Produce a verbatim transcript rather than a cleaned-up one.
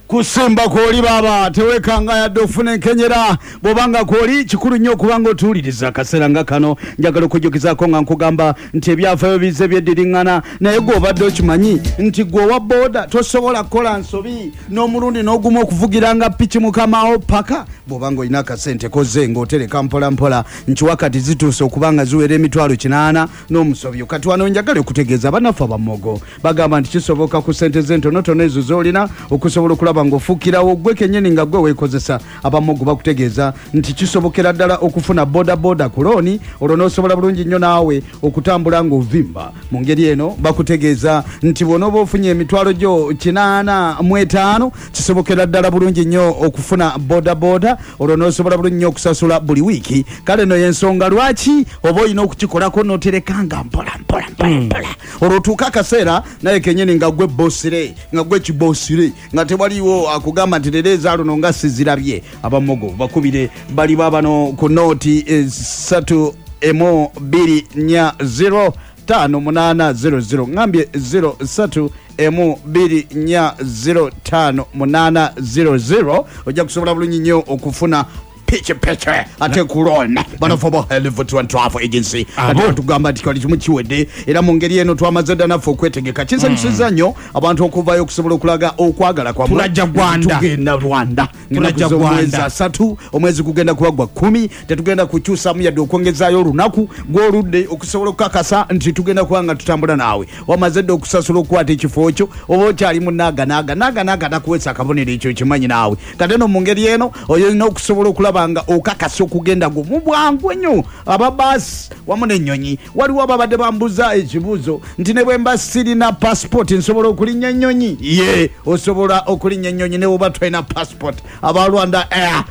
Kusimba kwoli baba tewekanga yadde ofuna enkenyera. Bw'obanga kwoli, kikulu nnyo okubanga otuwuliriza akaseera nga kano. Njagala okujjukizaako nga nkugamba nti ebyafaayo bizze byeddiriŋŋana, naye gwe obadde okimanyi nti gwe owa booda tosobola kukola nsobi n'omulundi n'ogumu okuvugiranga piki mukamawo paka bw'obanga olina akasente koze ng'otereka mpola mpola nti wakati zituuse okuba nga ziwera emitwalo kinaana n'omusobyo. Kati wano njagala okutegeeza bannaffe abamogo, bagamba nti kisoboka ku sente z'entonotono ezo z'olina okusobola okulaba ng'ofuukirawo gwe kennyini nga gwe weekozesa. Abamogo bakutegeeza nti kisobokera ddala okufuna bodaboda ku looni, olwo n'osobola bulungi nnyo naawe okutambula ng'ovimba. Mu ngeri eno bakutegeeza nti bw'onooba ofunye emitwalo gyo kinaana mu etaano, kisobokera ddala bulungi nnyo okufuna bodaboda, olwo n'osobola bulungi nnyo okusasula buli wiiki. Kale no yensonga lwaki oba olina okukikolako n'oterekanga mpola mpola mpola mpola, olwo otuuka akaseera naye kenyini nga gwe bosire, nga gwe kibosire, nga tewaliwo akugamba nti leero ezaaluno nga sizirabye. Abamogo bakubire, bali babano ku nooti esatu emu bbiri nnya zero tano munaana zero zero. Ngambye zero satu emu bbiri nnya zero tano munaana zero zero. Ojja kusobola bulungi nnyo okufuna pikipiki ate ku loan. Banafe ba Helvet One Travel Agency Abo. ate batugamba nti kali kimu kiwedde, era mu ngeri eno twamaze dda naffe okwetegeka. Kinsanyusiza nnyo abantu okuvayo okusobola okulaga okwagala kwammwe. Tulajja Rwanda. Tugenda Rwanda. Tulajja Ennaku z'omwezi Rwanda. asatu, omwezi gugenda kuba gwa kkumi. Tetugenda kukyusamu yadde okwongezaayo olunaku gw'oludde okusobola okukakasa nti tugenda kuba nga tutambula naawe. Wamaze dde okusasula okukwata ekifo kyo, oba okyali mu naaga naaga naaga naaga nakuweesa akabonero, ekyo kimanyi naawe. Kate no mu ngeri eno olina okusobola okulaba nga okakasa okugenda gwo mu bwangu ennyo. Ababaasi wamu n'ennyonyi, waliwo ababadde bambuza ekibuuzo nti ne bwe mba sirina passport nsobola okulinnya ennyonyi? Ye, osobola okulinnya ennyonyi ne bwoba tolina passport. Aba Rwanda Air.